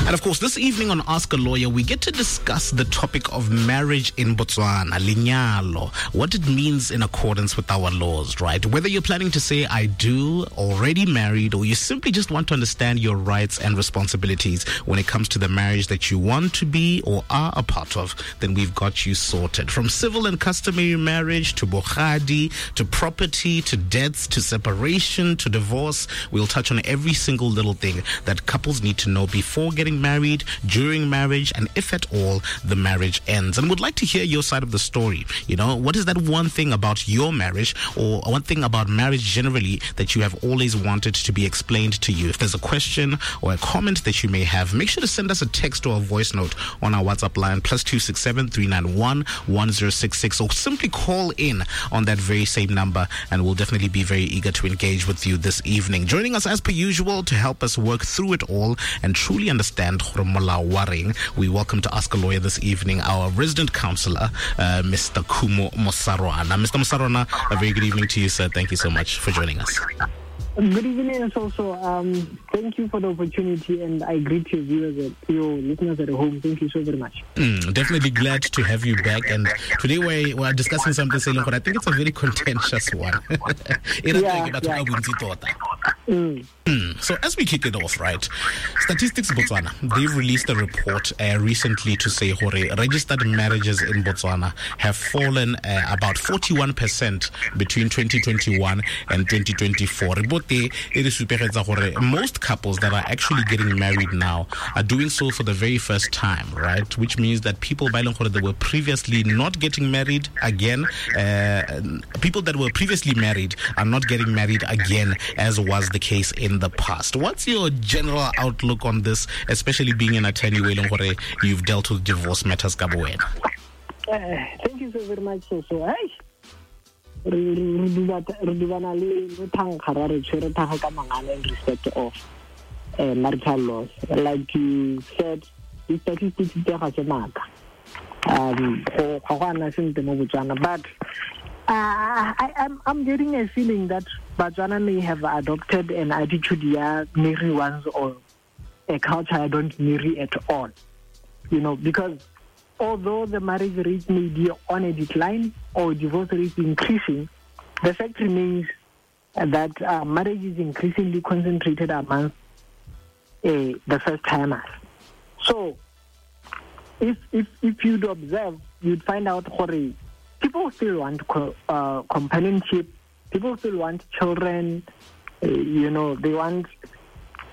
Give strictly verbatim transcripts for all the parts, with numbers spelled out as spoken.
And of course, this evening on Ask a Lawyer, we get to discuss the topic of marriage in Botswana, lenyalo, what it means in accordance with our laws, right? Whether you're planning to say, I do, already married, or you simply just want to understand your rights and responsibilities when it comes to the marriage that you want to be or are a part of, then we've got you sorted. From civil and customary marriage to bogadi, to property, to debts, to separation, to divorce, we'll touch on every single little thing that couples need to know before getting married, during marriage, and if at all the marriage ends. And we'd like to hear your side of the story. You know, what is that one thing about your marriage or one thing about marriage generally that you have always wanted to be explained to you? If there's a question or a comment that you may have, make sure to send us a text or a voice note on our WhatsApp line, plus two six seven, three nine one, one zero six six, or simply call in on that very same number, and we'll definitely be very eager to engage with you this evening. Joining us as per usual to help us work through it all and truly understand Waring, we welcome to Ask a Lawyer this evening our resident counselor, uh, Mister Khumo Mosarwana. Mister Mosarwana, a very good evening to you, sir. Thank you so much for joining us. Good evening, also. Um, thank you for the opportunity, and I greet your viewers, at, your listeners at home. Thank you so very much. Mm, definitely glad to have you back. And today we're, we're discussing something, but I think it's a very contentious one. yeah, yeah. Mm. Mm. So as we kick it off, right, Statistics Botswana, they've released a report uh, recently to say hore registered marriages in Botswana have fallen uh, about forty-one percent between twenty twenty-one and twenty twenty-four. Most couples that are actually getting married now are doing so for the very first time, right? Which means that people that were previously not getting married again, uh, people that were previously married are not getting married again, as was the case in the past. What's your general outlook on this, especially being an attorney, you've dealt with divorce matters? Uh, thank you so very much. So, so hey. In respect of uh, marital laws. Like you said, the statistics um but uh, I, I'm, I'm getting a feeling that Botswana may have adopted an attitude here, marry once, or a culture I don't marry at all. You know, because although the marriage rate may be on a decline or divorce rate increasing, the fact remains that uh, marriage is increasingly concentrated among uh, the first-timers. So, if, if, if you'd observe, you'd find out hore, people still want co- uh, companionship, people still want children, uh, you know, they want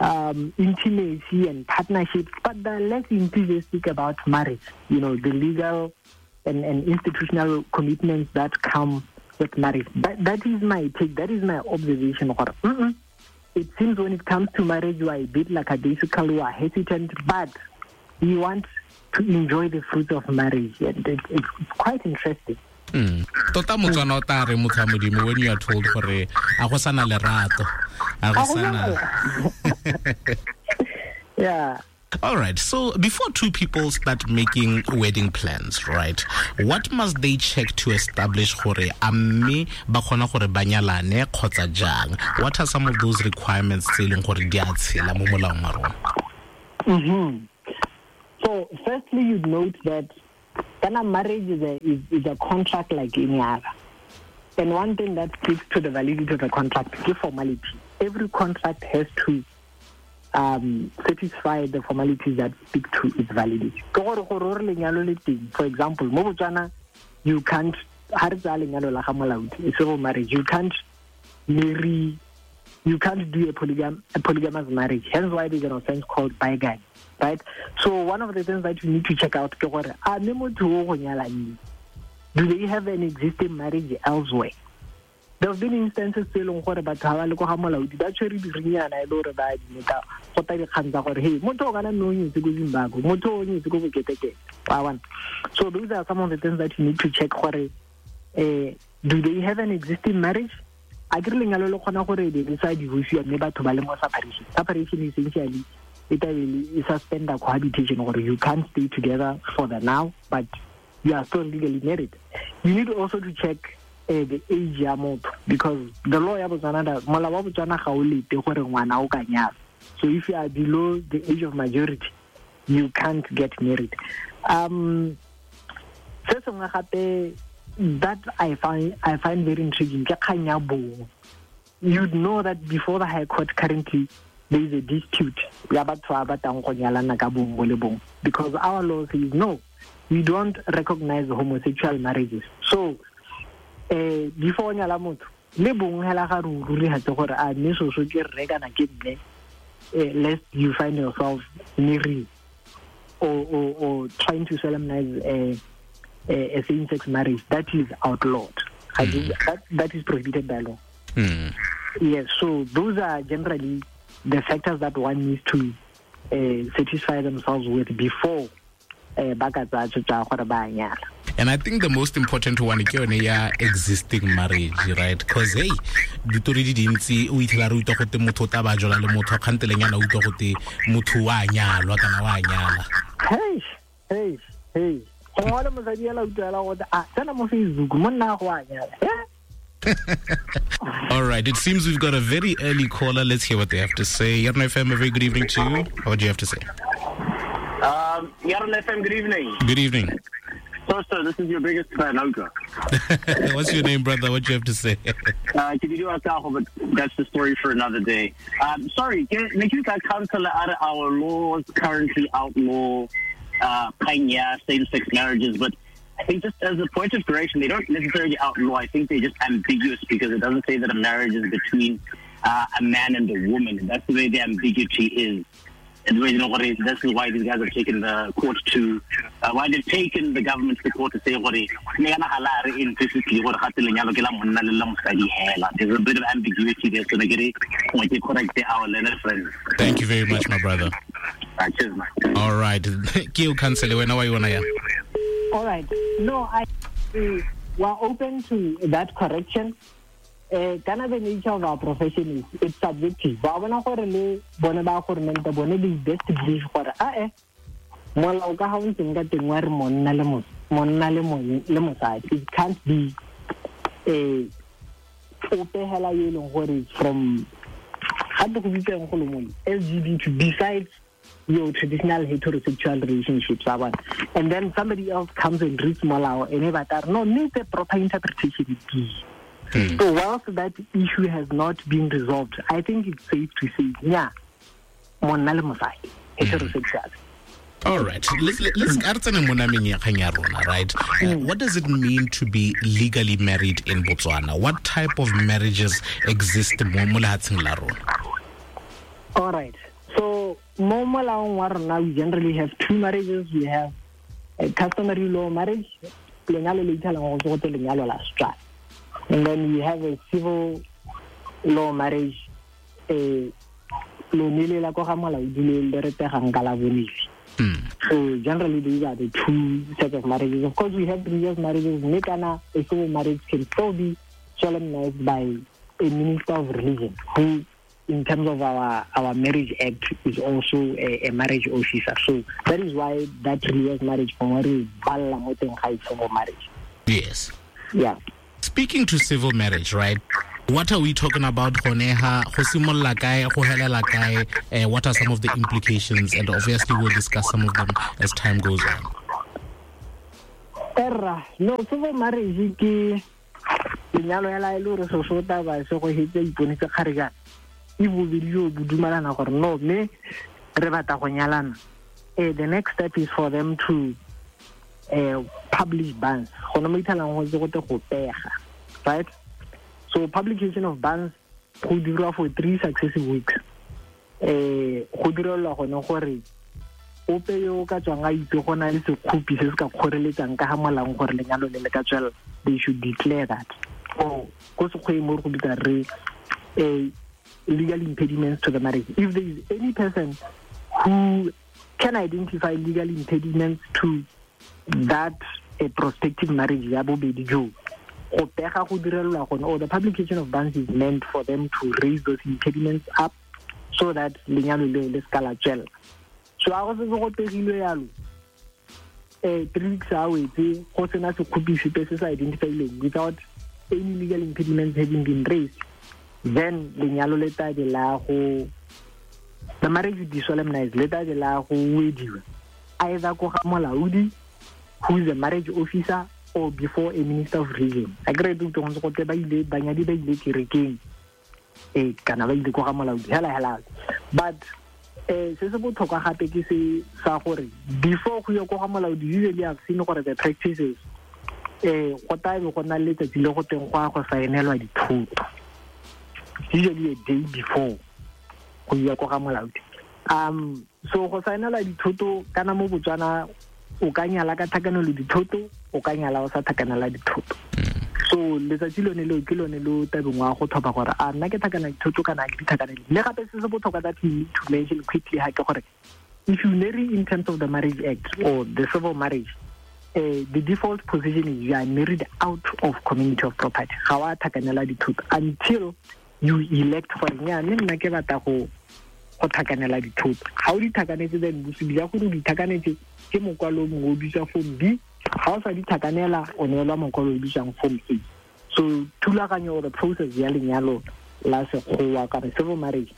Um, intimacy and partnerships, but they're less enthusiastic about marriage, you know, the legal and, and institutional commitments that come with marriage. That, that is my take, that is my observation. Mm-mm. It seems when it comes to marriage, you are a bit lackadaisical, you are hesitant, but you want to enjoy the fruits of marriage, and it, it's quite interesting. Mm. Tota Motswana o tla re motho wa Modimo when you are told gore a go sana lerato, a go sana. Yeah. All right. So before two people start making wedding plans, right, what must they check to establish gore a mme ba kgona gore ba nyalane kgotsa jang? What are some of those requirements tse e leng gore di a tshela mo molaong wa rona? Mm-hmm. So firstly, you'd note that Ghana marriage is a, is, is a contract like any other. And one thing that speaks to the validity of the contract is formality. Every contract has to um, satisfy the formalities that speak to its validity. For example, mo Botswana, you can't, a civil marriage, you can't marry, you can't do a, polygam, a polygamous marriage. Hence why there's an offense called bigamy. Right? So one of the things that you need to check out, do they have an existing marriage elsewhere? There have been instances tse e leng gore batho ga ba le ko ga molaodi ba tshwere dirinyana e le gore ba admita go ta dikgang tsa gore hey, motho o kana mme o nyetse ko Zimbabwe, motho o nyetse ko Boketekete. Wa bona? So those are some of the things that you need to check gore eh, do they have an existing marriage? A ke re lenyalo le kgona gore be le sa divorce mme batho ba le mo separation. Separation essentially it will suspend the cohabitation or you can't stay together for the now, but you are still legally married. You need also to check uh, the age ya motho, because the law ya Botswana, molao wa Botswana ga o lete gore ngwana o ka nyala. So if you are below the age of majority, you can't get married. Um, se sengwe gape that I find I find very intriguing ke kgang ya bong. You'd know that before the High Court currently there is a dispute ya batho ba batlang go nyalana ka bong bo le bong, because our law says no, we don't recognize homosexual marriages. So eh before o nyala motho le bong hela ga re rurihatse gore a mme soso ke rre kana ke mme, eh, lest you find yourself married or, or, or trying to solemnize a, a, a same-sex marriage. That is outlawed. Mm. That, that is prohibited by law. Mm. Yes, so those are generally the factors that one needs to uh, satisfy themselves with before uh, ba ka tsaya tshwetso ya gore ba a nyala. And I think the most important one ke yone ya existing marriage, right? Because hey, ditori di dintsi o itlhela re utlwa gote motho o tla ba jola le motho kganteleng yana utlwa gote motho wa nyalwa kana wa nyala. Hey, hey, hey. Gongwe le mosadi ela utlwela gote a tsena mo Facebook monna go a nyala. Eh? All right, it seems we've got a very early caller. Let's hear what they have to say. Yarona F M, a very good evening to you. What do you have to say? Um, Yarona F M, good evening. Good evening. So, sir, this is your biggest fan, Oka. What's your name, brother? What do you have to say? uh, but that's the story for another day. Um, sorry, council, our laws currently outlaw uh, same-sex marriages, but I think just as a point of correction, they don't necessarily outlaw. I think they're just ambiguous because it doesn't say that a marriage is between uh, a man and a woman. And that's the way the ambiguity is. And the way, you know, what is, this is why these guys have taken the court to, uh, why they've taken the government to court to say, there's a bit of ambiguity there, so they get it, correct our learner friends. Thank you very much, my brother. All right, cheers, man. All right. All right. No, I we are open to that correction. Uh, kana the nature of our profession is it's subjective. Ba bona gore le bone ba government bone di best believe gore a eh molao ka ha o ntseng ka teng wa re monna le mo monna le mo le mosadi. It can't be eh ope hela yo leng gore from ga go bitseng go le mo L G B T besides your traditional heterosexual relationships, and then somebody else comes and reads molao and ba tla no need the proper interpretation. Mm. So whilst that issue has not been resolved, I think it's safe to say, yeah, monna le mosadi, heterosexual. All right. Let's let's right? Uh, what does it mean to be legally married in Botswana? What type of marriages exist mo mo lehatsheng la rona? All right. So mo molaong wa rona we generally have two marriages. We have a customary law marriage, lenyalo le ithalang go tse lenyalo la Setswana. And then we have a civil law marriage, eh lone le la go ga molaodi le le re pegang ka la bonele. So generally these are the two sets of marriages. Of course we have religious marriages. Mme kana a civil marriage can still be solemnized by a minister of religion who, in terms of our, our marriage act, is also a, a marriage officer. So that is why that religious marriage civil marriage. Yes. Yeah. Speaking to civil marriage, right? What are we talking about? Go simolla kae, go helela kae? What are some of the implications? And obviously we'll discuss some of them as time goes on. Erra, no, civil marriage ke lenyalo hela e le hore soso taba se go hetse iponetse kgarejana. E bobedi jo bo dumalana gore no mme re batla go nyalana. Eh, the next step is for them to uh, publish bans. Go no mo ithalang go tse go te go pega, right? So publication of bans go dirwa for three successive weeks. Eh, go direlwa gone gore ope yo ka tswang a itse go na le sekgopi se se ka kgoreletsang ka ga molaong gore lenyalo le le ka tswelela, they should declare that. Or ko sekgweng mo re go bitsa re eh legal impediments to the marriage. If there is any person who can identify legal impediments to that a prospective marriage ya bobedi jo, go pega go direlwa gone, or the publication of bans is meant for them to raise those impediments up so that lenyalo leo le se ka la tswelela. So a go setse go pegilwe yalo, eh three weeks a wetse go sena sekgopi sepe se se identifileng without any legal impediments having been raised, then lenyalo le tla be la go, the marriage will be solemnized, le tla be la go wediwa. either ko ga molaodi, who is a marriage officer, or before a minister of religion. A kry go ntse go tle ba ile banyadi ba ile kerekeng, eh kana ba ile ko ga molaodi hela hela. But eh se se botlhokwa gape ke se sa gore before go ya ko ga molaodi, usually I've seen gore the practices eh go tla be go na le letsatsi le go teng go a go saenelwa dithoto, usually a day before go ya ko ga molaodi. Um so go saenela dithoto kana mo Botswana o ka nyala ka thakanelo dithoto, o ka nyala o sa thakanela dithoto. So letsatsi lone leo ke lone lo tabeng wa go tlhopha gore a nna ke thakana dithoto kana ke di thakanele. Le gape se se botlhokwa that you need to mention quickly ha ke gore if you marry in terms of the Marriage Act or the civil marriage, uh, the default position is you are married out of community of property. Ga wa thakanela dithoto until you elect gore nya mme nna ke batla go go thakanela dithoto. Ga o di thakanetse, then bosupi ja gore o di thakanetse ke mokwalo mongwe o bitswa form B. Ga o sa di thakanela, o neelwa mokwalo o bitswang form A. So thulaganyo or the process ya lenyalo la sekgowa kana civil marriage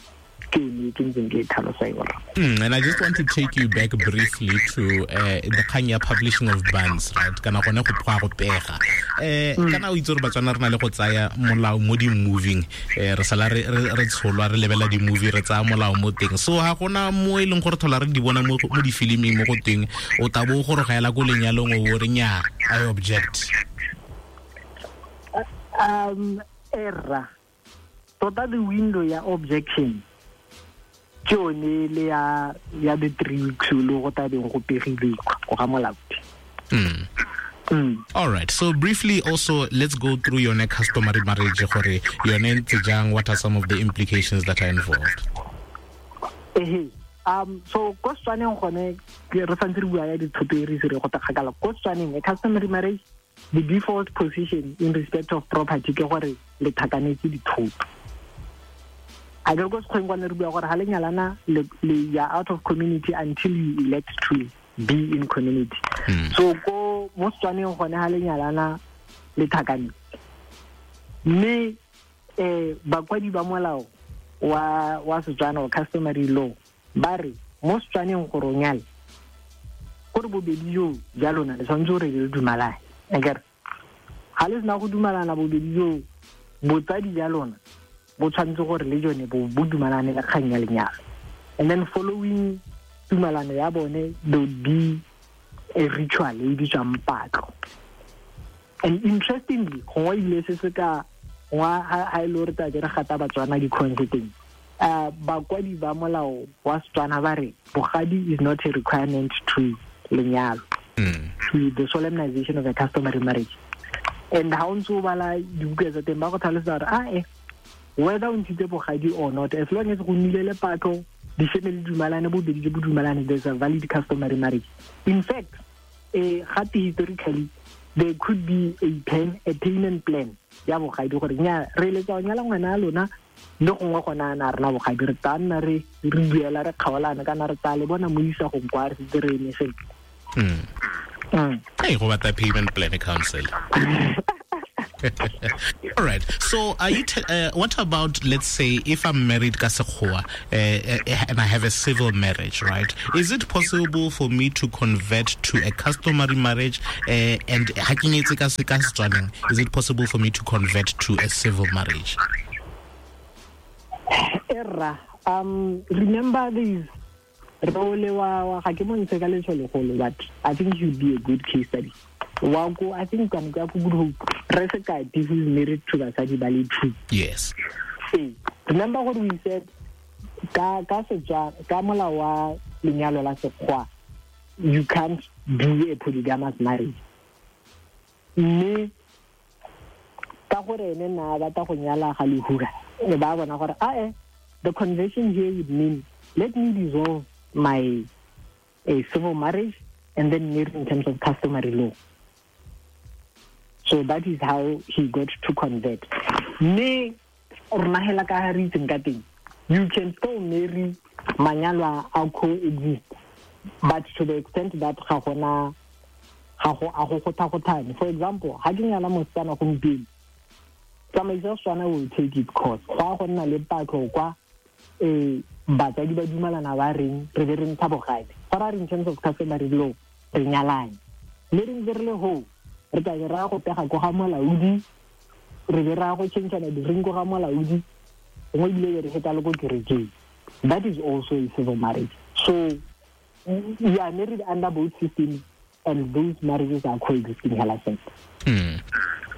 ke yone ke ntseng ke e tlhalosa yona. Mm, and I just want to take you back briefly to uh, the kgang ya publishing of banns, right? Kana gone go tloga go pega. Eh kana o itse gore Batswana re na le go tsaya molao mo di-moving, eh re sala re re tsholwa re lebela di-movie, re tsaya molao mo teng. So ha gona mo e leng gore thola re di bona mo mo di-filming mo go teng, o tla bo go rogaela ko lenyalong o re nya, I object. Um erra tota the window ya objection ke yone le ya ya the three weeks lo go tabeng go pegile go ga molaodi. Mm. Mm. All right. So briefly also, let's go through yone customary marriage gore yone ntse jang, what are some of the implications that are involved? Eh um so ko Setswaneng gone re santse re bua ya dithoto e re se re go takgakala. Ko Setswaneng a customary marriage, the default position in respect of property ke gore le thakanetse dithoto. A ke go sekgweng kwane re bua gore ha le nyalana le ya out of community until you elect to be in community. Mm. So ko mo Setswaneng gone ha le nyalana le thakane. Mme eh bakwadi ba molao wa wa Setswana wa customary law ba re mo Setswaneng gore o nyale gore bobedi jo ja lona le tshwanetse gore le dumalane. Akere ha le sena go dumalana bobedi jo, botsadi ja lona bo tshwanetse gore le jone bo bo dumalane le kgang ya lenyalo. And then following tumalano ya bone, there would be a ritual e bitswang patlo. And interestingly, gongwe ebile se se ka gongwe ha e le gore tla ke re gata Batswana di-coins teng, uh, bakwadi ba molao wa Setswana ba re bogadi is not a requirement to lenyalo, mm. to the solemnization of a customary marriage. And ha o ntse o bala dibuka tsa teng ba go tlhalosetsa gore ah eh whether o ntshitse bogadi or not, as long as go nnile le patlo, di-family dumalane, bobedi jo bo dumalane, there's a valid customary marriage. In fact, eh gape historically there could be a plan, a payment plan ya bogadi gore nya re eletsa go nyala ngwana a lona, le gongwe gona na rena bogadi re tla nna re re buela re kgaolana kana re tla le bona mo isagong kwa re setse re eme sentle. Mm. Mm. Hey, go batla payment plan council. All right. So, are you? Te- uh, what about, let's say, if I'm married ka sekgowa, uh, uh, and I have a civil marriage, right? Is it possible for me to convert to a customary marriage? Uh, and ha ke nyetse ka se ka Setswaneng, is it possible for me to convert to a civil marriage? Erra, um, remember this. Role wa ga ke mo ntshe ka letsholegolo, but I think he would be a good case study. Wa ko, I think kana ka go Good Hope, re Sekati who is married to basadi ba le two. Yes. Ee, remember what we said ka ka setswa ka molao wa lenyalo la sekgwa, you can't do a polygamous marriage. Mme ka gore ene na batla go nyala ga lehura, e ba bona gore a eh the conversion here would mean let me dissolve my a civil marriage and then marry in terms of customary law. So that is how he got to convert. Mme rona hela ka ha re itseng ka teng, you can still marry manyalo a coexist, but to the extent that ga gona ga go a go gotha-gothane. For example, ha ke nyala mosetsana gompieno, tsamaiso ya Setswana will take its course. Go a go nna le patlo kwa eh batsadi ba dumalana ba reng re be re ntsha bogadi. Go raya in terms of customary law re nyalane, mme re ntse re le ho re tla be ra go pega ko ga molaodi, re be ra go changeana di-ring ko ga molaodi, gongwe ebile be re feta le ko kerekeng. That is also a civil marriage. So you are married under both systems, and those marriages are coexisting hela sentle. Mm.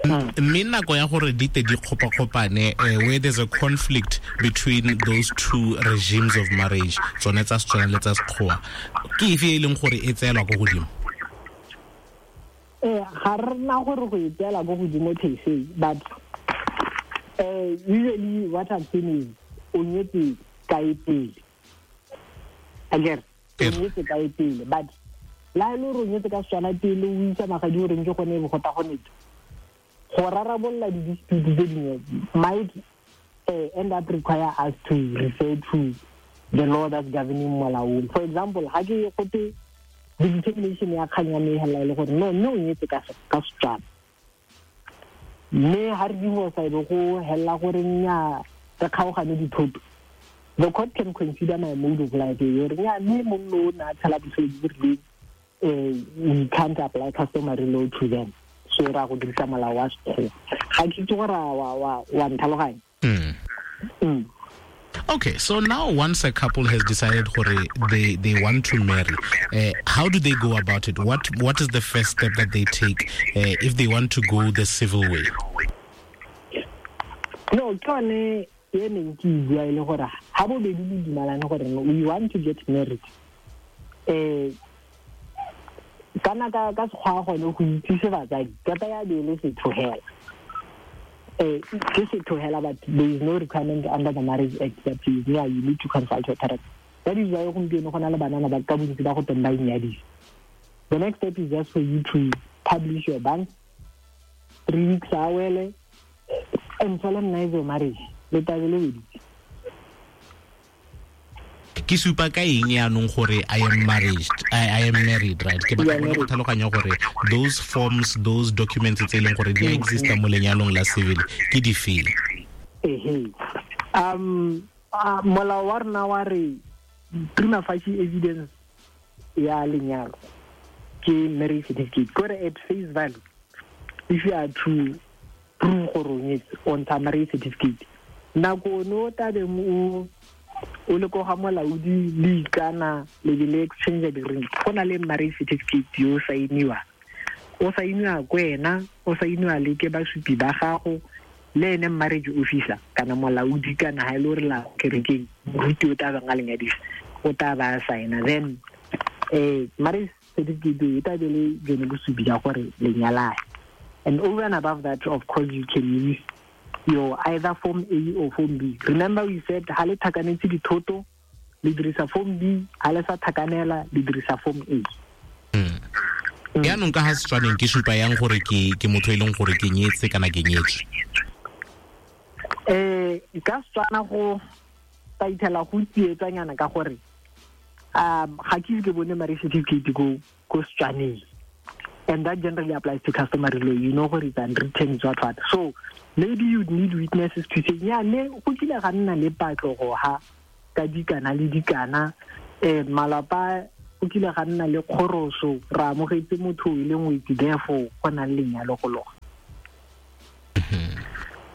Mme nako ya gore di te di kgopakgopane, where there's a conflict between those two regimes of marriage, tsone tsa Setswana le tsa Sekgowa, ke efe e leng gore e tseelwa ko godimo? Eh, ga re na gore go e tseela ko godimo per se, but uh, usually what I've seen is o nyetse kae pele, akere o nyetse kae pele, but la e le gore o nyetse ka Setswana pele o isa magadi o reng ke gone go ta go nete go rarabolola di-dispute tse dingwe might uh, end up require us to refer to the law that's governing molaong. For example, ha ke gote the determination ya kgang ya me hela e le gore no mme o nyetse ka ka Setswana, mme ha re divorce e be go hella gore nnyaa re kgaogane dithoto, the court can consider my mode of life e gore nnyaa mme monno o ne a tshela botshelo bo bo rileng, eh, we can't apply customary law to them, so ra go dirisa molao wa Sekgowa. Ga ke itse gore wa wa wa ntlhaloganya. Mm. Mm. Okay, so now once a couple has decided gore they they want to marry, uh, how do they go about it? What what is the first step that they take uh, if they want to go the civil way? No, ke yone e neng ke e bua e le gore ha bobedi le dumalane gore we want to get married, eh kana ka ka Sekgowa gone go itsise batsadi tota ya be le setho hela, eh ke setho hela, but there is no requirement under the Marriage Act that you, yeah, you need to consult your parents. That is why gompieno go na le banana ba ka bontsi ba go teng ba inyadisa. The next step is just for you to publish your bank three weeks a wele and solemnize your marriage, le tlabe le weditse. Ke supa ka eng yaanong gore I am married, I, I am married, right? Ke batla go tlhaloganya gore those forms, those documents tse e leng gore di exista mo lenyalong la civil ke di feng? Ehe, um uh, molao wa rona wa re prima facie evidence ya lenyalo ke marriage certificate. Kore at face value, if you are to prove gore o nyetse, o ntsha marriage certificate. Nako no tabeng o o le ko ga molaodi le ikana le be le exchange di-ring, go na le marriage certificate yo sainiwa, o sainiwa ko wena, o sainiwa le ke basupi ba gago le ene marriage officer kana molaodi kana ha e le gore la kerekeng moruti o tla bang a lenyadisa o tla ba saina. Then eh marriage certificate e tla be le jone bosupi ja gore le nyalane. And over and above that, of course, you can use your either form A or form B. Remember we said ha le thakanetse dithoto le dirisa form B, ha le sa thakanela le dirisa form A. Mm. Yaanong ka ha Setswaneng ke supa yang gore ke ke motho e leng gore ke nyetse kana ke nyetswe? Eh ka Setswana go taithela go tsietsanyana ka gore um ga ke ke bone marriage certificate go go Setswaneng, and that generally applies to customary law. You know gore it's unwritten, what what. So maybe you'd need witnesses to say, yeah, ne go kile ga nna le patlo go ha ka dikana le dikana, eh malapa go kile ga nna le kgoroso, ra amogetse motho e le ngwetsi, therefore go na le lenyalo go loga.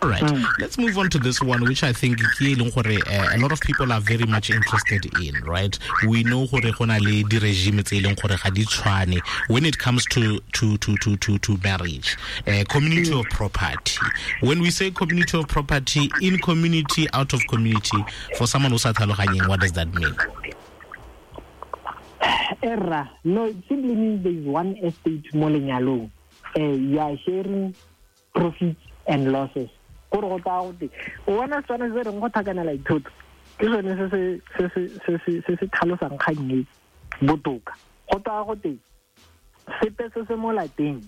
All right, mm. Let's move on to this one, which I think ke e leng gore a lot of people are very much interested in, right? We know gore go na le di-regime tse e leng gore ga di tshwane when it comes to to to to to, to marriage, uh, community of property. When we say community of property, in community, out of community, for someone who sa tlhaloganyeng, what does that mean? Erra, no, it simply means there is one estate mo lenyalong. Uh, you are sharing profits and losses. Gore go tsaya gote o bona Setswana se reng go thakanela dithoto ke sone se se se se se se se tlhalosang kgang e botoka. Go tsaya gote sepe se se mo lapeng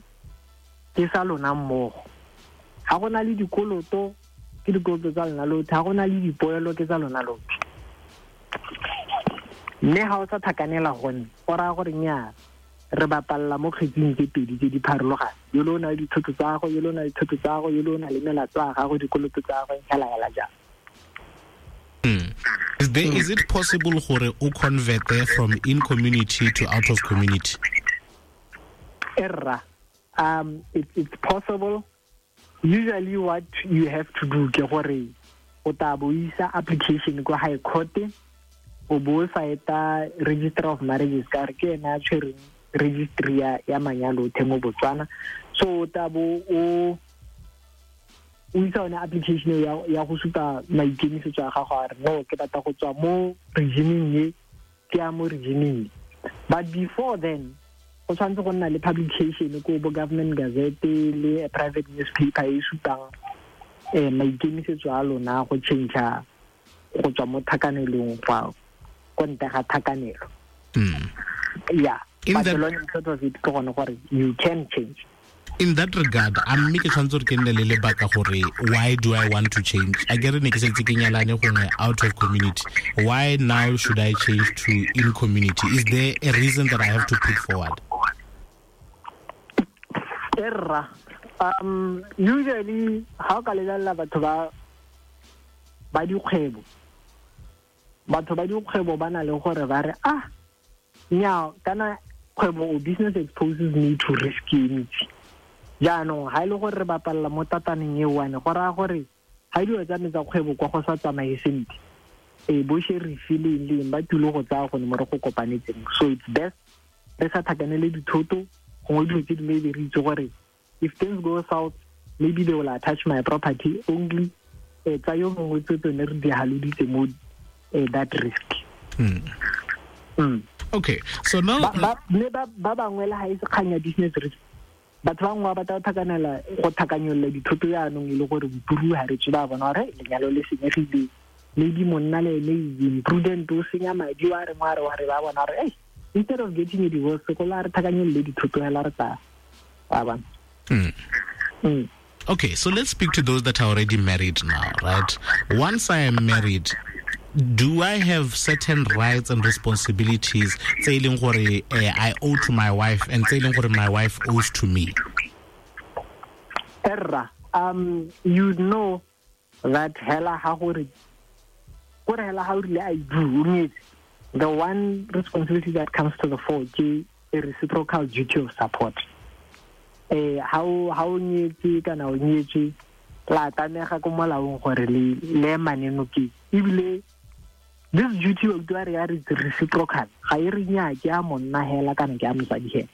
ke sa lona mmogo, ga go na le dikoloto ke dikoloto tsa lona lotlhe, ga go na le dipoelo ke tsa lona lotlhe. Mme ga o sa thakanela gone go raya gore nnyaa re bapalla mo kgetsing tse pedi tse di pharologane, yo le o na le dithoto tsa gago, yo le o na le dithoto tsa gago, yo le o na le melato ya gago, dikoloto tsa gago, hela hela jang. Mm. Is there, mm. is it possible gore o convert from in community to out of community? Erra. Um, it, it's possible. Usually what you have to do ke gore o tla bo isa application ko high court, o bo saeta register of marriages ka re ke ena a tshwereng registry ya, ya manyalo otlhe mo Botswana. So o tla bo o o isa one application ya ya go supa maikemisetso a gago a re no, ke batla go tswa mo regimeng e ke ya mo regimeng. But before then go tshwanetse go nna le publication ko bo government gazette le private newspaper e supang eh maikemisetso a lona go change go tswa mo thakanelong go ko ntle ga thakanelo. Mm. Yeah, In but that, the long and short of it ke gone gore you can change. In that regard, a mme ke tshwanetse gore ke nne le lebaka gore why do I want to change? A ke re ne ke setse ke nyalane gongwe out of community. Why now should I change to in community? Is there a reason that I have to put forward? Erra. Um, usually, ha o ka lebelela batho ba ba dikgwebo, batho ba dikgwebo ba na le gore ba re, ah, nnyaa, kana kgwebo o business exposes me to risk e ntsi. Jaanong ha e le gore re bapalla mo tataneng e one, go raya gore ha dilo tsa me tsa kgwebo kwa go sa tsamaye sentle, e bo sheriff le eng le eng ba tlile go tsaya gone mo re go kopanetseng. So it's best re sa thakanele dithoto, gongwe dilo tse dingwe be re itse gore if things go south, maybe they will attach my property only. Eh, tsa yo mongwe tse tsone re di haloditse mo, eh, that risk. Mm. Mm. Okay, so now ba ba mme ba ba bangwe le ha e se kgang ya business risk, batho ba bangwe ba batla go thakanela, go thakanyolola dithoto jaanong e le gore bopuru ha re tswe ba bona gore lenyalo le senyegile, maybe monna le ene is imprudent, o senya madi, wa re, wa re, wa re, ba bona gore, hey, instead of getting a divorce, go la re thakanyolole dithoto hela re tla, wa bona. Mm. Mm. Okay, so let's speak to those that are already married now, right? Once I am married, do I have certain rights and responsibilities tse e leng gore, eh, I owe to my wife and tse e leng gore my wife owes to me? Erra, um, you know that hela ha gore, gore hela ha o rile I do, o nyetse. The one responsibility that comes to the fore ke a reciprocal duty of support. Eh, ha o, ha o nyetse kana o nyetswe, la tlamega ko molaong gore le, le emane nokeng. Ebile this duty of duty ya re reciprocal, ga e re nnyaa ke a monna hela kana ke a mosadi hela.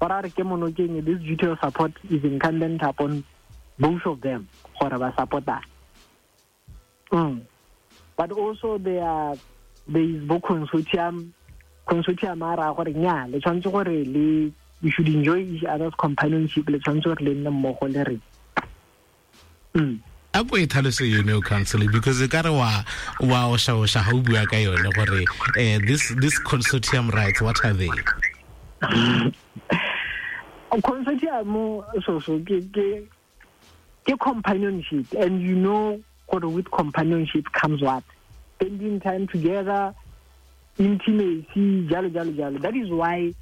Gore a re ke monokeng, this duty of support is incumbent upon both of them gore ba support-a. Mm. But also there are, there is bo consortium, consortium a raya gore nnyaa, le tshwanetse gore le, you should enjoy each other's companionship, le tshwanetse gore le nne mmogo le re. Mm. A ko e tlhalose yone o counsel, because e ka re wa, wa osha osha ha o bua ka yone gore, eh, this, this consortium rights, what are they? Consortium so so ke, ke, ke companionship, and you know gore with companionship comes what? Spending time together, intimacy, jalo jalo jalo. That is why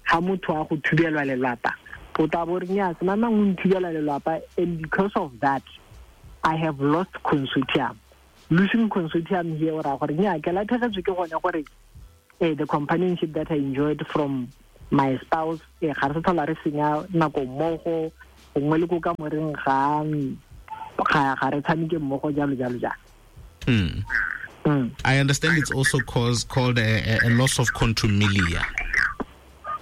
ha motho a go thubelwa lelapa, o tla bo re nnyaa, se mang o nthubelwa lelapa, and because of that I have lost consortium. Losing consortium here, ora gore nnyaa, ke latlhegetswe ke gone gore, eh, the companionship that I enjoyed from my spouse, eh, ga re sa tlhola re senya nako mmogo, gongwe le ko kamoreng ga, ga, ga re tshameke mmogo, jalo jalo jalo. Mm. Mm. I understand it's also cause, called a, a, a loss of contumelia.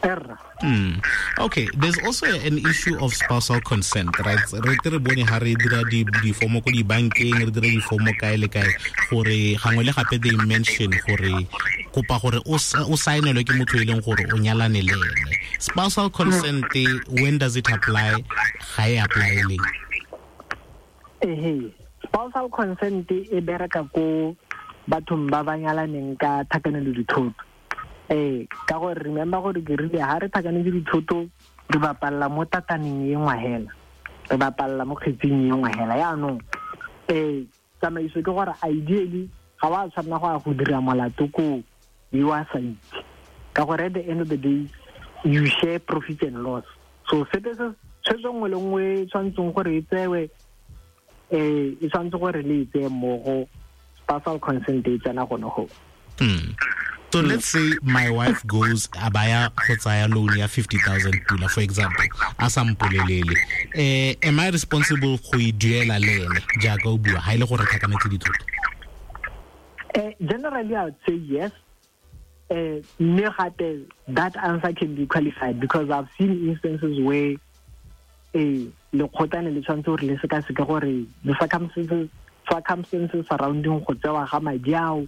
Error. Mm. Okay, there's also an issue of spousal consent, right? Re tle re bone ha re dira di, difomo ko dibankeng, re dira difomo kae le kae, gore gangwe le gape they mention gore kopa gore o sa-, o saenelwe ke motho e leng gore o nyalane le ene. Spousal consent, when does it apply? Ga e apply leng? Ehe, spousal consent e bereka ko bathong ba ba nyalaneng ka thakanelo dithoto. Eh, ka gore remember gore ke rile ha re thakanetse dithoto re bapalla mo tataneng e nngwe hela, re bapalla mo kgetsing e nngwe hela. Yaanong, eh, tsamaiso ke gore ideally ga wa tshwanela go ya go dira molato ko you are sa itse, ka gore at the end of the day you share profit and loss. So sepe se tshwetso nngwe le nngwe e tshwanetseng gore e tsewe, eh, e tshwanetse gore le e tseye mmogo, Spousal consent e tsena gone go. Mm. So mm. let's say my wife goes abaya go tsaya loan ya fifty thousand pula, for example, a sa mpolelele. Eh, am I responsible go e duela le ene jaaka o bua ha ile gore tlhakanetse dithoto? Eh, generally I would say yes. Eh, mme gape that answer can be qualified because I've seen instances where eh lekgotla ne le tshwanetse gore le sekaseke gore the circumstances circumstances surrounding go tsewa ga madi ao,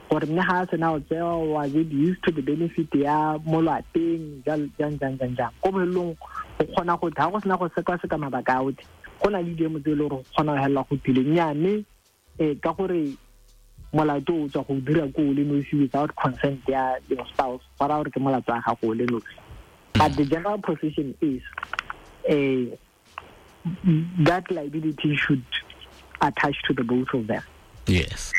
gore mme ga a sena go tsewa, was it used to the benefit ya mo lwapeng, jang jang jang jang jang. Ko bohelong go kgona go ga go sena go sekaseka mabaka a otlhe, go na le diemo tse e le gore go kgona go helela go tile nnyane eh ka gore molato o tswa go dira ko o le nosi without consent ya your spouse, go raya gore ke molato wa gago o le nosi. But the general position is eh that liability should attach to the both of them. Yes.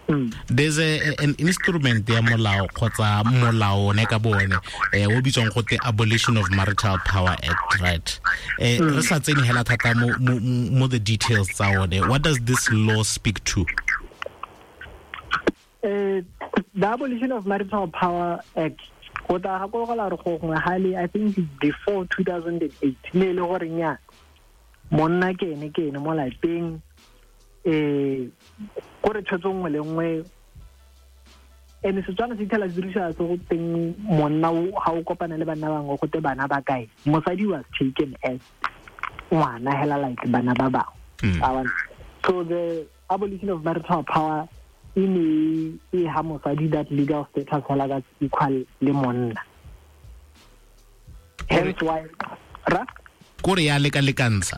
Mm. There's a, an instrument ya molao kgotsa molao ne ka bone eh o bitswang gote Abolition of Marital Power Act, right? Eh Mm. re sa tsene hela thata mo, mo mo the details tsa one. What does this law speak to? Uh, the Abolition of Marital Power Act go tla gakologelwa gore go gongwe gale, I think before two thousand eight, ne e le gore nya monna ke ene ke ene mo lapeng, eh gore tshwetso nngwe le nngwe ene Setswana se ithela se dirisa se go teng monna o ga o kopana le banna bangwe go te bana ba kae, mosadi was taken as ngwana hela like bana ba bangwe. Mm. A bona. So the Abolition of Marital Power e ne e ha mosadi that legal status hela that's equal le monna. Hence why ra Kore ya lekalekantsha.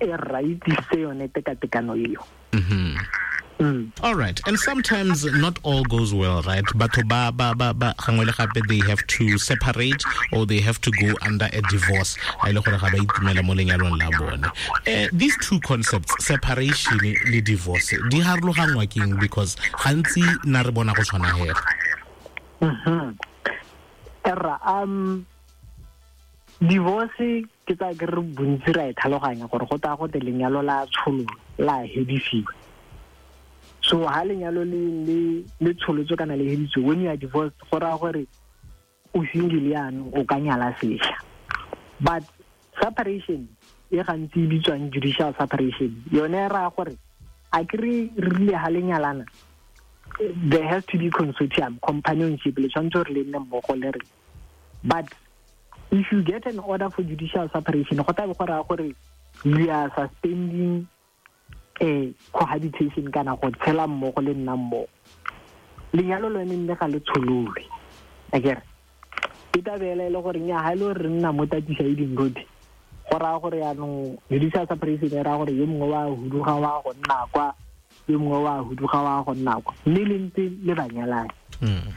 E right se yone tekatekano eo. Mhm. Mm. All right. And sometimes not all goes well, right? Batho ba ba ba ba gangwe le gape they have to separate or they have to go under a divorce. Ha ile gore ga ba itumela mo lenyalong la bone. Eh, these two concepts, separation le divorce, di harologangwa keng? Because gantsi na re bona go tshwana hela. Mhm. Erra, um divorce ke tsa ke re bontsi ra e tlhaloganya gore go tla go te lenyalo la tsholo la hedisiwa. So ha lenyalo le le le tsholotswe kana le heditswe, when you are divorced go raya gore o single yaanong o ka nyala sešwa. But separation e gantsi e bitswang judicial separation, yone e raya gore a ke re re rile ha le nyalana, there has to be consortium, companionship, le tshwanetse gore le nne mmogo le re. But if you get an order for judicial separation, go tla be go raya gore we are suspending a cohabitation kana go tshela mmogo le nna mmogo. Lenyalo lone mme ga le tshololwe. Akere e tla be e le gore nnyaa, ha e le gore re nna mo Tatisaiding Road, go raya gore yaanong judicial separation e raya gore yo mongwe wa huduga wa go nna kwa, yo mongwe wa huduga wa go nna kwa, mme le ntse le banyalane. Mm.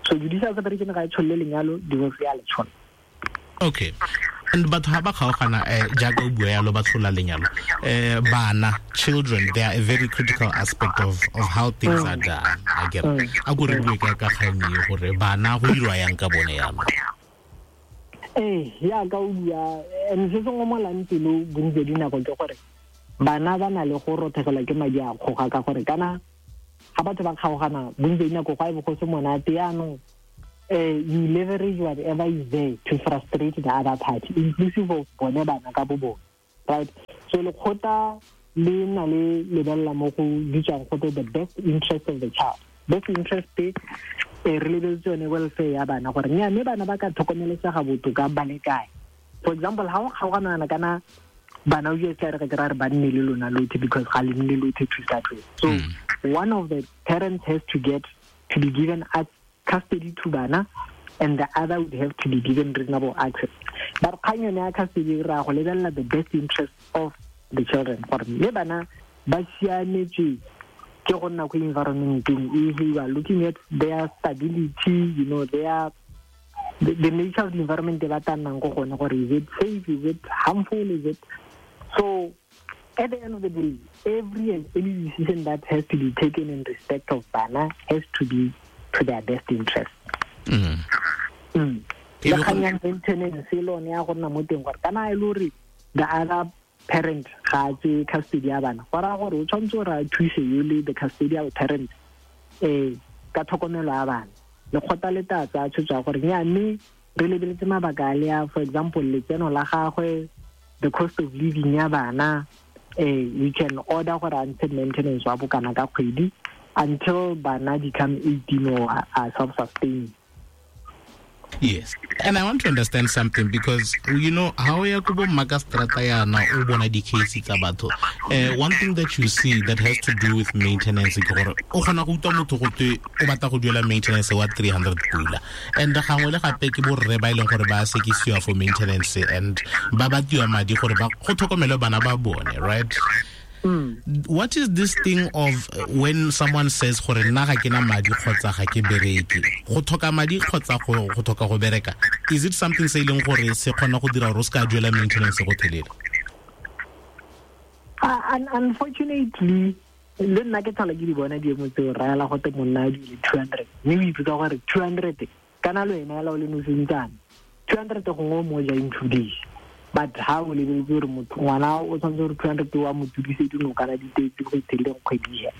So judicial separation ga e tsholole lenyalo, divorce ya le tshola. Okay. And batho ha ba kgaogana, eh, jaaka o bua yalo ba tshola lenyalo, eh, bana, children, they are a very critical aspect of, of how things are done. I get it. A ko re bue ka ka kgang e gore bana go dirwa yang ka bone yalo. Eh, jaaka o bua, and se se ngomolang pelo bontsi dinako ke gore bana ba na le go rothegelwa ke madi a kgoga ka gore kana ga batho ba kgaogana bontsi dinako go a bo go se monate yaanong. Uh, you leverage whatever is there to frustrate the other party, inclusive of bone bana ka bo bone, right? So lekgotla le na le lebella mo go bitswang go the best interest of the child. Best interest e re lebeletse yone welfare ya bana gore nnyaa, mme bana ba ka tlhokomelesega botoka ba le kae. For example, ha o kgaogana kana bana o tla re ke ra re ba nne le lona lothe because ga le nne lothe to start with. So mm. one of the parents has to get to be given a custody to bana, and the other would have to be given reasonable access. But kgang yone ya custody ra go lebelela the best interest of the children gore mme bana ba siametse ke go nna ko environmenteng e, you are looking at their stability, you know, their the, the nature of the environment ba tla nnang ko gone, gore is it safe, is it harmful, is it so. At the end of the day, every and any decision that has to be taken in respect of bana has to be to their best interest. Mm. Mm. Le kgang ya maintenance le yone ya go nna mo teng gore kana e le gore the other parent ga a tseye custody ya bana, go raya gore o tshwanetse gore a thuse yole the custodial parent um ka tlhokomelo ya bana. Lekgotla le tla tsaya tshwetso ya gore nya mme re lebeletse mabaka a le a, for example, letseno la gagwe, the cost of living ya bana, eh we can order gore a ntshe maintenance wa bokana ka kgwedi until bana become eighteen or are self-sustaining. Yes. And I want to understand something because, you know, how ya ko bo makastrata yana o bona di-case tsa batho. Uh, one thing that you see that has to do with maintenance ke gore o kgona go utlwa motho go twe o batla go duela maintenance wa three hundred pula. And gangwe le gape ke borre ba e leng gore ba sekisiwa for maintenance and ba batiwa madi gore ba go tlhokomele bana ba bone, right? Mm. What is this thing of when someone says gore nna ga ke na madi kgotsa ga ke bereke, go tlhoka madi kgotsa go go tlhoka go bereka, is it something se e leng gore se kgona go dira gore o se ka duela maintenance go thelele? Uh, unfortunately, le nna ke tlhola ke di bona diemo tseo raela gote monna a duele two hundred, mme o ipotsa gore two hundred kana le wena hela o le nosentsane, two hundred gongwe o mo ja in two days. But ha o lebeletse gore motho ngwana o tshwanetse gore two hundred wa mo tudise dinokana di tetse go itheleng kgwedi he.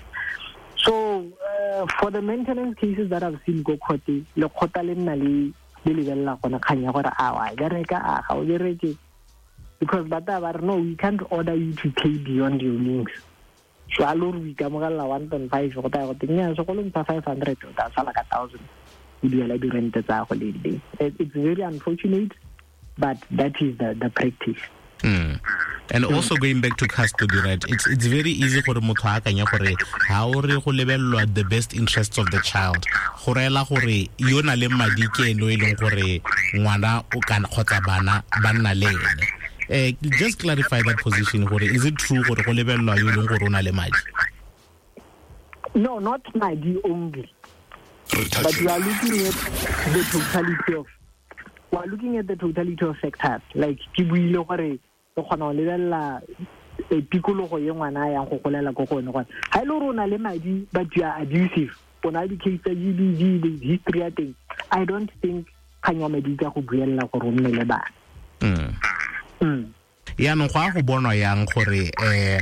So uh, for the maintenance cases that I've seen go court, lekgotla le nna le le lebelela gona kgang ya gore a wa bereka a ga o bereke, because ba tla ba re no, we can't order you to pay beyond your means. So a lo re o ikamogela one point five go taya gote nnyaa segolo ntsha five hundred o tla sala ka thousand o duela dirente tsa go le di. It's very unfortunate, but that is the, the practice. Mm. And also going back to custody, right? It's it's very easy gore motho a akanye gore ha o re go lebellwa the best interests of the child, go reela gore yo na le madi ke ene o e leng gore ngwana o kana kgotsa bana ba nna le ene. Eh, just clarify that position gore is it true gore go lebellwa yo e leng gore o na le madi? No, not madi only. But we are looking at the totality of we are looking at the totality of factors. Like ke buile gore re kgona go lebelela tikologo ye ngwana a yang go golela ko go yone gore ha e le gore o na le madi but you are abusive, o na le di-case tsa G B V, the history ya teng, I don't think kgang ya madi ka go buelela gore o nne le bana. Mm. Mm. Yaanong go a go bonwa yang gore eh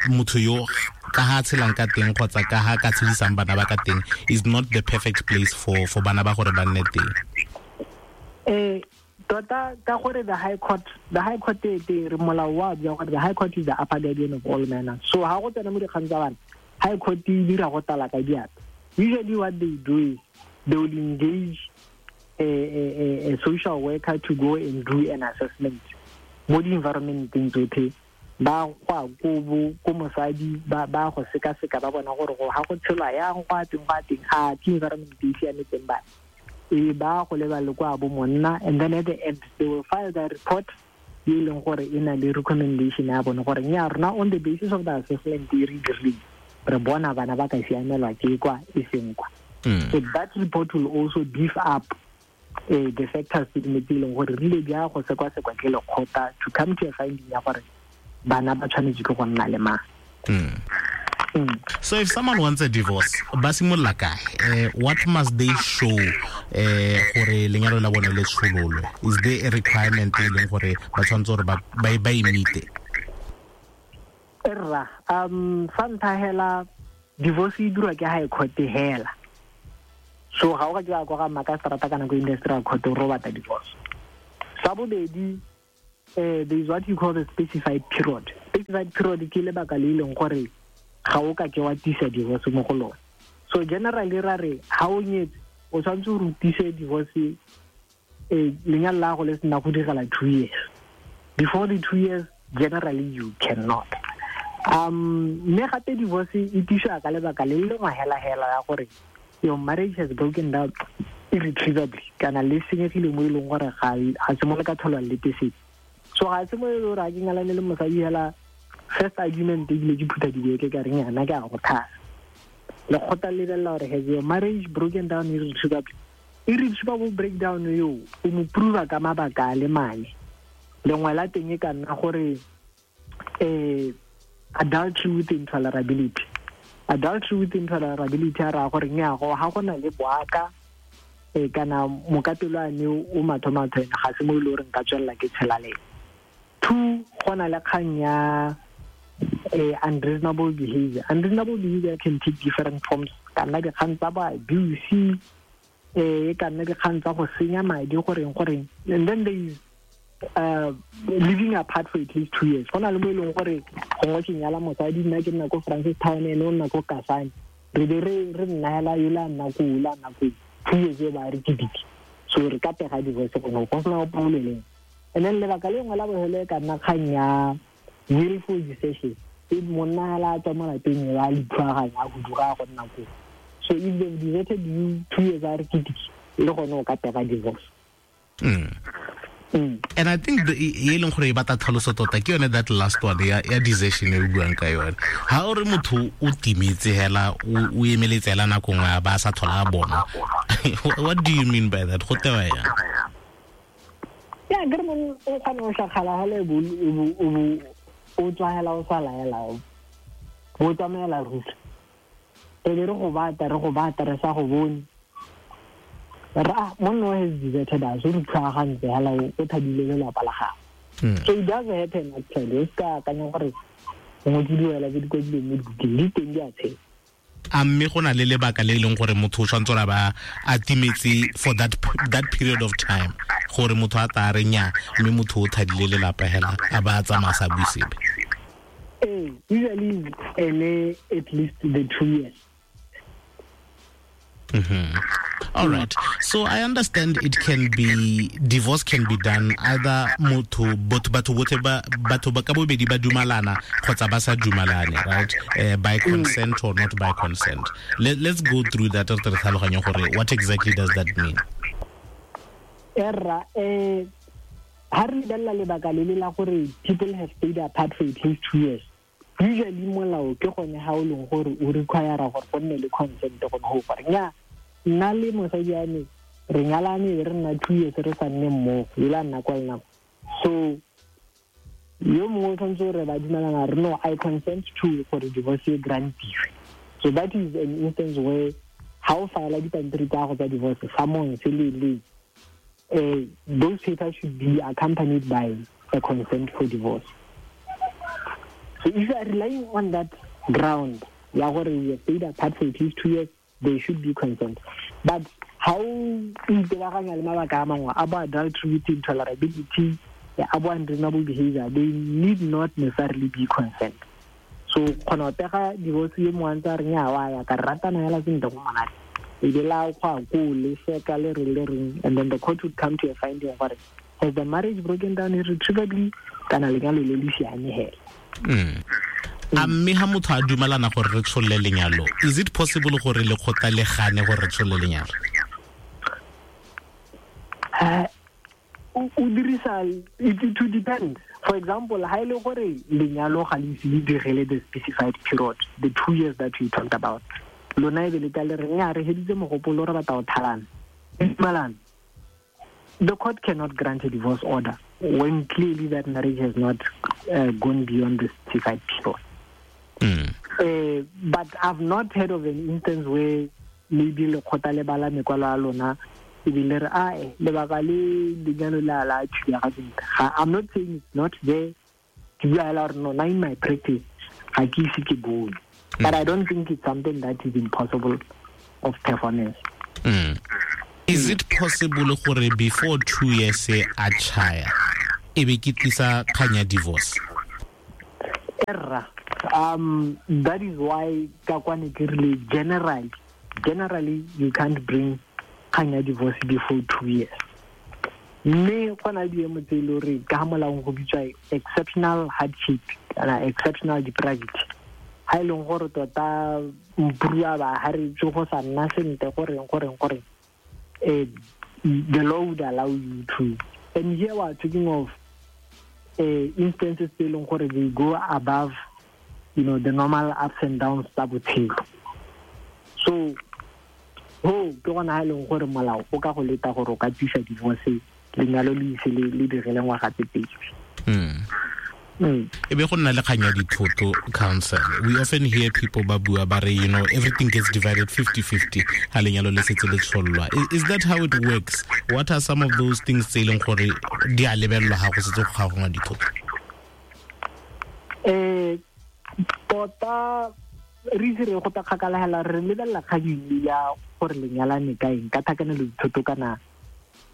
motho yo ka ha tshelang ka teng kgotsa ka ha ka tshedisang bana ba ka teng is not the perfect place for for bana ba gore ba nne teng? Eh tota ka gore the high court the high court e teng re molao wa bua gore the high court is the upper guardian of all manners. So ha go tsena mo dikgang tsa bana, high court e dira go tala ka diatla. Usually what they do is they will engage a, a, a social worker to go and do an assessment mo di-environmenteng tsotlhe, ba go ko bo ko mosadi ba ba go sekaseka ba bona gore go ha go tshelwa yang go a teng go a teng a ke environment e siametseng bana, e ba go leba le kwa bo monna, and then at the end they will file the report e leng gore e na le recommendation ya bone gore nya rona on the basis of the assessment e re dirileng re bona bana ba ka siamelwa ke kwa e seng kwa. So that report will also beef up uh, the factors tse di leng gore rile di a go sekwa-sekwa ke lekgotla to come to a finding ya gore bana ba tshwanetse ke go nna le mang. Mm. Mm. So if someone wants a divorce, ba simolola kae? Eh, what must they show eh gore lenyalo la bone le tshololwe? Is there a requirement e leng gore ba tshwanetse gore ba ba ba e meet-e? Erra, um fa ntlha hela divorce e dirwa ke high court hela. So ga o ka ke kwa ga makastrata kana ko industrial court o robata divorce. Sa bobedi, eh there is what you call the specified period. Specified period ke lebaka le leng gore ga o ka ke wa tisa divorce mo go lone. So generally ra re ha o nyetse o tshwanetse o rutise divorce eh lenyalo la go le sena go direla two years. Before the two years generally you cannot. Um mme gape divorce e tiswa ka lebaka le lengwe hela hela ya gore your marriage has broken down irretrievably kana le senyegile mo e leng gore ga ga se mo le ka tholwa le tesetse. So ga se mo e le gore a ke ngalane le mosadi hela first argument ebile ke phutha dibeke ka reng yana ke a go thasa. Lekgotla le lebelela gore has your marriage broken down irretrievably. Irretrievable breakdown yo o mo prove ka mabaka a le mane. Lengwe la teng e ka nna gore eh adultery with intolerability. Adultery with intolerability a raya gore nya go ha go na le boaka e kana mokapelo ane o mathomatho ene ga se mo e le gore nka tswelela ke tshela le. Two, go na le kgang ya unreasonable behavior. Unreasonable behavior can take different forms. Ka nna dikgang tsa ba abuse, e ka nna dikgang tsa go senya madi, goreng goreng. And then there is uh, living apart for at least two years. Go na le mo e leng gore gongwe ke nyala mosadi, nna ke nna ko Francistown, ene o nna ko Kasane. Re be re re nna hela yola nna ko la nna ko two years e ba re kidiki. So re ka pega divorce gone go sena o poleleng. And then lebaka le nngwe la bofelo e ka nna kgang ya willful desertion. E monna hela a tswa mo lapeng ba le thuaganya a huduga go nna ko. So if they've deserted you two years a re kidiki, le gone o ka pega divorce. Mm. Mm. And I think the e leng gore e batla tlhaloso tota ke yone that last one ya ya desertion e re buang ka yone. Ha o re motho o timetse hela o emeletse hela nako nngwe ba sa tlhola a bona. What do you mean by that? Go tewa yang? Ya ke re mon o kgona go shakgala hela bo o tswa hela o sa laela. Bo tsamaela ruri. Re be re go bata re go bata re sa go bone. Ra monna has deserted us, o re tlhagantse hela o thadile lelapa la gagwe. So it does happen actually. O ska akanya gore gongwe ke diwela tse di kwadilweng mo dibukeng, di teng di a tshela. A mme go na le lebaka le e leng gore motho o tshwanetse gore ba a timetse for that that period of time gore motho a tla re nya mme motho o thadile lelapa hela a ba a tsamaya sa bue sepe. Ee, usually ene at least the two years. Mm-hmm. All right. So I understand it can be, divorce can be done either motho botho batho botlhe ba batho ba ka bobedi ba dumalana kgotsa ba sa dumalane, right? Uh, by consent or not by consent. Let, let's go through that re tlhaloganye gore what exactly does that mean? Erra, eh ha re lebella lebaka le le la gore people have stayed apart for at least two years. Usually molao ke gone ha o leng gore o require gore go nne le consent gone ho gore nya nna le mosadi ya me re nyalane re nna two years re sa nne mmogo e la nna kwa le nako. So yo mongwe o tshwanetse gore ba dumelana re no I consent to gore divorce e grantiwe. So that is an instance where ha o file dipampiri tsa go tsa divorce summons le le eh those papers should be accompanied by a consent for divorce. So if you are relying on that ground, ya gore we have stayed apart for at least two years, there should be consent. But how itebaganya le mabaka a mangwe a bo adultery, intolerability, a bo unreasonable behavior, they need not necessarily be consent. So kgona go pega divorce yo mongwe a ntse a re nya wa ya ka ratana hela sentle go monate. E be la go a ko le seka le re le reng, and then the court would come to a finding gore has the marriage broken down irretrievably kana lenyalo le le siame hela. Mm. A mme ha motho a dumalana gore re tsholle lenyalo, is it possible gore lekgotla le gane gore re tsholle lenyalo? Uh, o dirisa it to depend. For example, ha ile gore lenyalo ga le ise le direle the specified period, the two years that we talked about. Lona e be le tla le re nya re heditse mogopolo re batla go thalana. Dumalana. The court cannot grant a divorce order when clearly that marriage has not uh, gone beyond the specified period. Mm. Uh, but I've not heard of an instance where maybe lekgotla le bala mekwalo ya lona ebile re ae lebaka le lenyalo la la thubega sentle. I'm not saying it's not there. Ke bua hela gore no, na in my practice ga ke ise ke bone. But I don't think it's something that is impossible of performance. Mm. Is it possible gore before two years a chaya e be ke tlisa kgang ya divorce? Erra, um, that is why ka kwane ke rile generally, generally you can't bring kgang ya divorce before two years. Mme go na le diemo tse e le gore ka molaong go bitswa exceptional hardship kana exceptional depravity. Ha e leng gore tota mprua ba ha re tse go sa nna sentle goreng goreng goreng. Uh, the law would allow you to. And here we are talking of uh, instances they go above, you know, the normal ups and downs tsa botshelo. So, ho ke gona ha e leng gore molao o ka go leta gore o ka tsisa divorce lenyalo le ise le le direle ngwaga tse pedi. Mm. Mm. E be go nna le kgang ya dithoto, counsel. We often hear people ba bua ba re, you know, everything gets divided fifty-fifty ha lenyalo le setse le tshollwa. Is that how it works? What are some of those things tse e leng gore di a lebellwa ha go setse go gagongwa dithoto? Tota re itse re go ta kgakala hela re lebelela kgang ya gore lenyalane ka eng ka thakanelo dithoto kana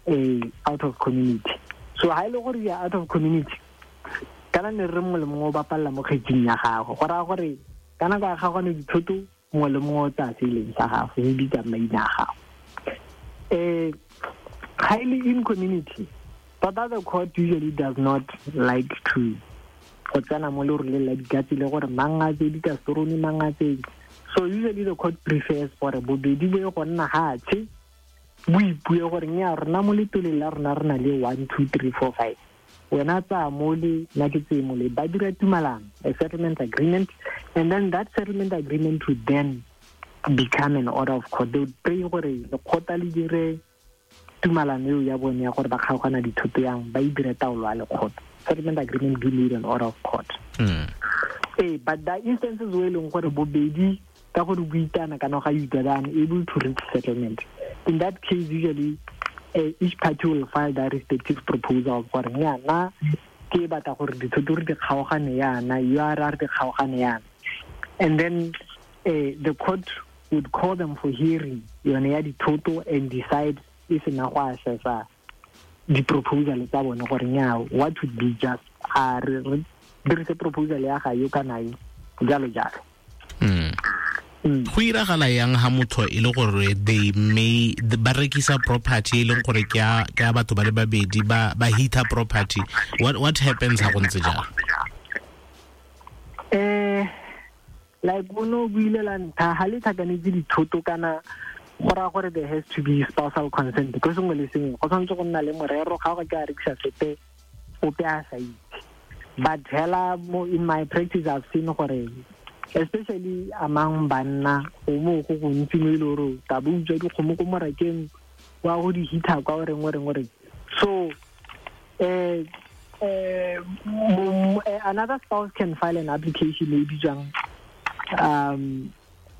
eh out of community. So ha ile gore ya out of community kana ne re mongwe le mongwe o bapalla mo kgetsing ya gago go raya gore kana ka ga gone dithoto mongwe le mongwe o tsaya se e leng sa gago e bitsa maina a gago. Eh highly in community, but the court usually does not like to go tsena mo leroleng la dikatse le gore mang a tse dikasorone mang a tse. So usually the court prefers gore bobedi bo ye go nna hatshe bo ipue gore nya rona mo letoleng la rona re na le one two three four five, wena tsaya mole nna ke tseye mole, ba dira tumalano, a settlement agreement, and then that settlement agreement would then become an order of court. They would pray gore lekgotla le dire tumalano eo ya bone ya gore ba kgaogana dithoto yang ba e dire taolo ya lekgotla. Settlement agreement do need an order of court. Mm. Eh, but the instances where e leng gore bobedi ka gore buitana kana ga utlwana able to reach settlement, in that case usually uh, each party will file their respective proposal gore nyana ke batla gore dithoto re di kgaogane yana, you are re di kgaogane yana, and then uh, the court would call them for hearing yone ya dithoto and decide if na go assessa di-proposal tsa bone gore nya what would be just a re dirise proposal ya ga yo kana yo jalo jalo. Mm. Mm. Go iragala yang ha motho e le gore they may ba rekisa property e leng gore ke ya ke ya batho ba le babedi ba ba hita property, what what happens ha go ntse jalo? Eh like ono buile la ntha ha le thakanetse dithoto kana go raya gore there has to be spousal consent ko sengwe le sengwe go tshwanetse go nna le morero ga go ke a rekisa sepe ope a sa itse. But hela mo in my practice I've seen gore especially among banna go mo go gontsi mo e le gore ta bo utswa dikgomo ko morakeng wa go di hitha kwa o reng o reng o reng. So eh eh another spouse can file an application e bitswang um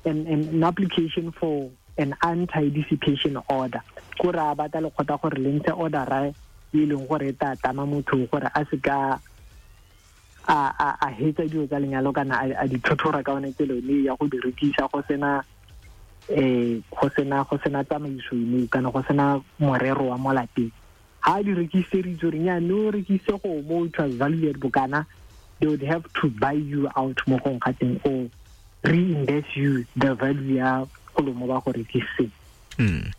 an, an application for an anti-dissipation order. Ko ra batla lekgotla gore le ntshe order ra e leng gore e tla tama motho gore a se ka a a a hetsa dilo tsa lenyalo kana a di thothora ka one tsela ene ya go di rekisa go sena eh go sena go sena tsamaiso ene kana go sena morero wa mo lapeng. Ha di rekiseditse gore nya no rekise go mo it was valued bokana, they would have to buy you out mo gong ga teng or reinvest you the value ya mo ba go rekiseng. Mm.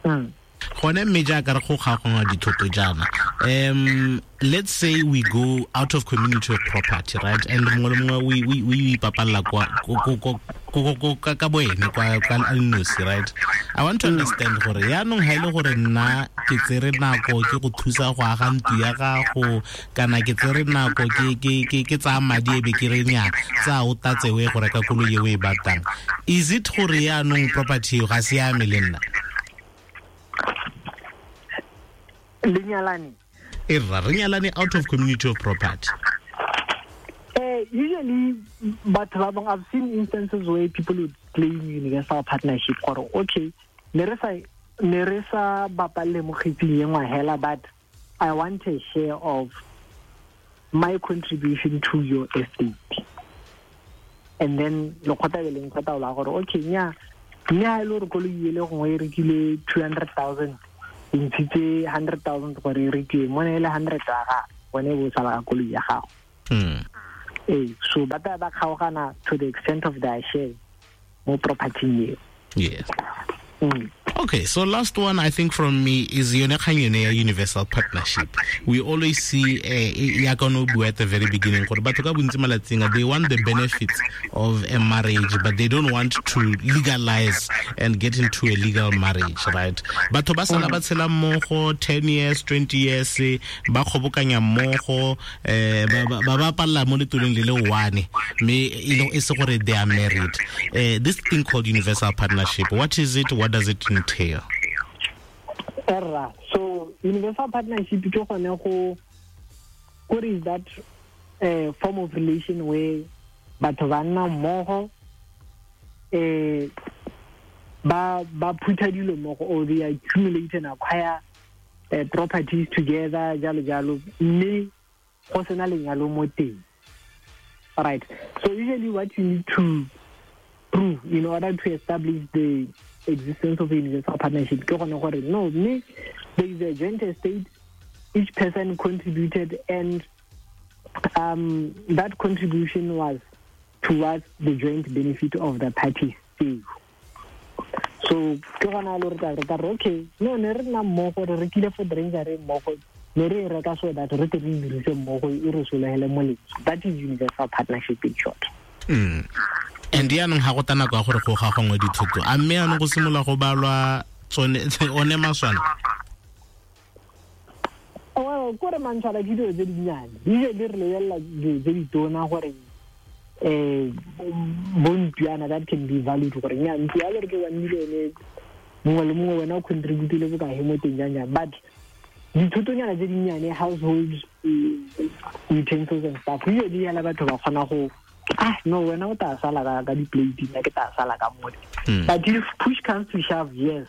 Mm. Gone mme jaaka re go kgaogangwa dithoto jaana, um let's say we go out of community of property, right, and mongwe le mongwe we we we ipapalla kwa ko ka boene kwa kwa nosi, right? I want to understand gore yaanong ha ile gore nna ke tsere nako ke go thusa go aga ntlo ya gago kana ke tsere nako ke ke ke ke tsaya madi e be ke re nya tsa o tatse o e go reka koloi e o e batlang, is it gore yaanong property ga se ya me le nna? Lenyalane e rra re nyalane out of community of property. Eh, usually batho ba bangwe, I've seen instances where people would claim universal partnership gore okay ne re sa ne re sa bapalle mo kgetsing e nngwe hela, but I want a share of my contribution to your estate. And then lekgotla le leng kgotla la gore okay nya nya e le gore koloi e le gongwe e rekile two hundred thousand, e ntshitse hundred thousand gore e rekiwe mo ne e le hundred ya gago, bone bo sala ka koloi ya gago. Mm. Eh, so ba tla ba kgaogana to the extent of their share mo property eo. Yes. Mm. Okay, so last one I think from me is yone kgang yone ya universal partnership. We always see ya ka no bua at the very beginning gore batho ka bontsi malatsing they want the benefits of a marriage but they don't want to legalize and get into a legal marriage, right? Batho ba sala ba tshela mmogo ten years, twenty years, ba kgobokanya mmogo, eh ba ba ba palla mo letoleng le le one mme e se gore they are married. Eh this thing called universal partnership, what is it? What does it entail? Erra. So universal partnership ke gone go what is that uh, form of relation where batho ba nna mmogo eh ba ba phutha dilo mmogo or they accumulate and acquire uh, properties together jalo jalo mme go sena lenyalo mo teng. All right. So usually what you need to prove in order to establish the existence of a universal partnership, no, me, there is a joint estate, each person contributed, and um, that contribution was towards the joint benefit of the parties. So, okay, no, ne re nna mmogo, re rekile for dranger re mmogo, ne re e reka so that re tle re dirise mmogo, e re solegele molemo. That is universal partnership in short. Mm. And yaanong ga go ta nako ya gore go gagongwe dithoto, a mme yaanong go simolola go balwa tsone one maswana? Well, kore mantshwala ke dilo tse dinnyane, usually re lebelela dilo tse ditona gore eh bontwana that can be valued gore nya ntlo ya le re ke one million mongwe le mongwe wena o contributile bokae mo teng jang jang, but dithotonyana tse dinnyane, household utensils and stuff, usually yala batho ba kgona go ah no wena o tla sala ka ka di-plate, nna ke tla sala ka mole. But if push comes to shove, yes,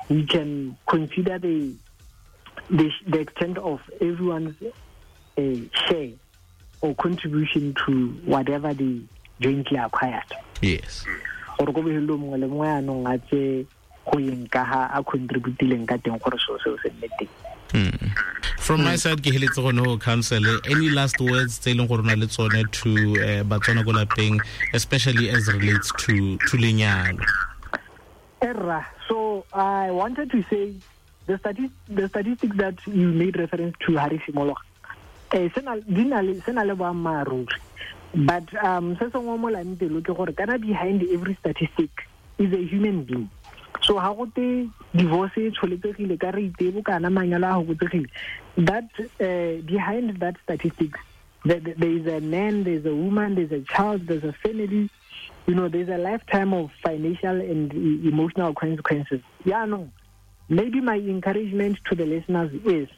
we can consider the the, the extent of everyone's uh, share or contribution to whatever they jointly acquired. Yes. Gore ko bohelong mongwe le mongwe anong a tse go yeng ka ha a contributileng ka teng gore seo seo se nne teng. Mm. From my side, ke heletse gone ho counsel, any last words tse leng gore na le tsone to uh, Batswana ko lapeng, especially as relates to to lenyalo? Erra, so I wanted to say the stati- the statistics that you made reference to, Harry Simologa, eh sena di na le sena le boammaaruri, but um se sengwe mo lang pelo ke gore kana behind every statistic is a human being. So ha go te divorce e tsholetsegile ka rate e bokana, manyalo a fokotsegile, that uh, behind that statistics there, there is a man, there is a woman, there is a child, there's a family, you know, there's a lifetime of financial and emotional consequences. Yeah, no, maybe my encouragement to the listeners is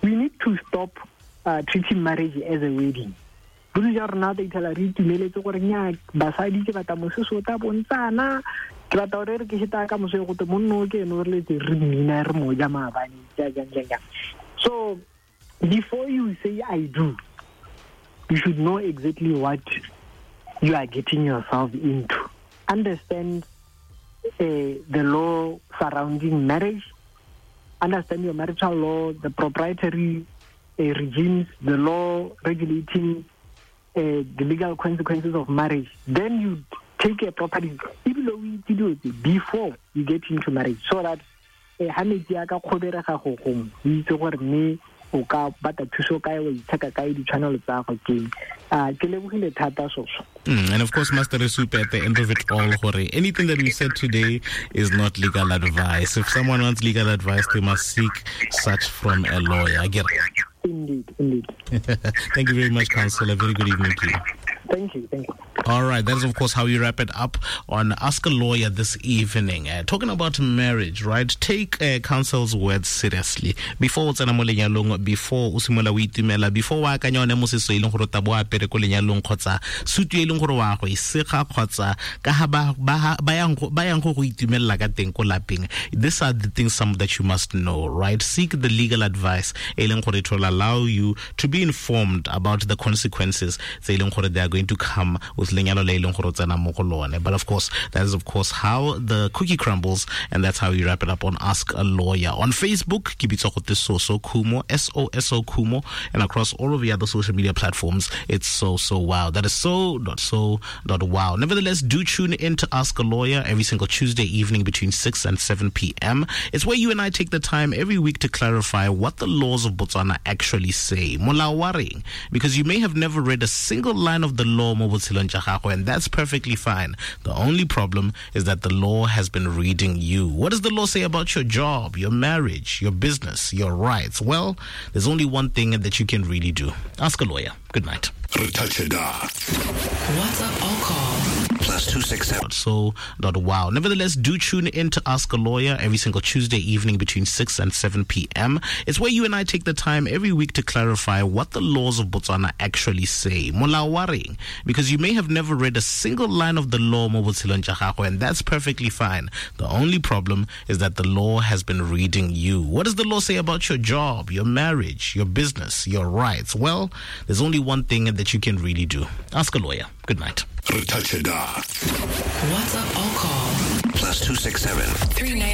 we need to stop uh, treating marriage as a wedding. Bontsi jwa rona re ithela re itumeletse gore nya basadi ke batla mosese o tla bontsana, ke batla gore re ke sheta ka moso go te monno ke ene o re letse re mmina re mo ja maabane jang jang jang. So before you say I do, you should know exactly what you are getting yourself into. Understand uh, the law surrounding marriage, understand your marital law, the proprietary uh, regimes, the law regulating uh, the legal consequences of marriage. Then you take a property before you get into marriage, so that ha metsi a ka kgoberega go gongwe, o itse gore mme o ka batla thuso kae, wa itsheka kae, ditshwanelo tsa gago ke ah ke lebogile thata soso. Mm, and of course, Master Resupe, at the end of it all, gore anything that we said today is not legal advice. If someone wants legal advice, they must seek such from a lawyer. Get it? Indeed, indeed. Thank you very much, Counsellor. Very good evening to you. Thank you, thank you. All right, that is, of course, how we wrap it up on Ask a Lawyer this evening. Uh, talking about marriage, right? Take uh, counsel's words seriously. Before o tsena mo lenyalong, before o simolola o itumela, before o akanya one mosese e leng gore o tla bo apere ko lenyalong kgotsa sutu e leng gore wa go e sega kgotsa ka ha ba ba yang ba yang go go itumelela ka teng ko lapeng. These are the things some that you must know, right? Seek the legal advice e leng gore it will allow you to be informed about the consequences tse e leng gore they are going to come with lenyalo le leng gore o tsena mo go lone. But of course, that is of course how the cookie crumbles, and that's how we wrap it up on Ask a Lawyer. On Facebook, ke bitswa gote Soso Khumo, S O S O Khumo, and across all of the other social media platforms, it's So So Wow. That is so dot so dot wow. Nevertheless, do tune in to Ask a Lawyer every single Tuesday evening between six and seven p.m. It's where you and I take the time every week to clarify what the laws of Botswana actually say. Molao wa reng? Because you may have never read a single line of the law mo botshelong jwa gago, and that's perfectly fine. The only problem is that the law has been reading you. What does the law say about your job, your marriage, your business, your rights? Well, there's only one thing that you can really do. Ask a lawyer. Good night. WhatsApp or call plus two six seven. So dot wow. Nevertheless, do tune in to Ask a Lawyer every single Tuesday evening between six and seven p.m. It's where you and I take the time every week to clarify what the laws of Botswana actually say. Molao wa reng? Because you may have never read a single line of the law mo botshelong jwa gago, and that's perfectly fine. The only problem is that the law has been reading you. What does the law say about your job, your marriage, your business, your rights? Well, there's only one thing that that you can really do. Ask a lawyer. Good night. WhatsApp or call plus two six seven three nine.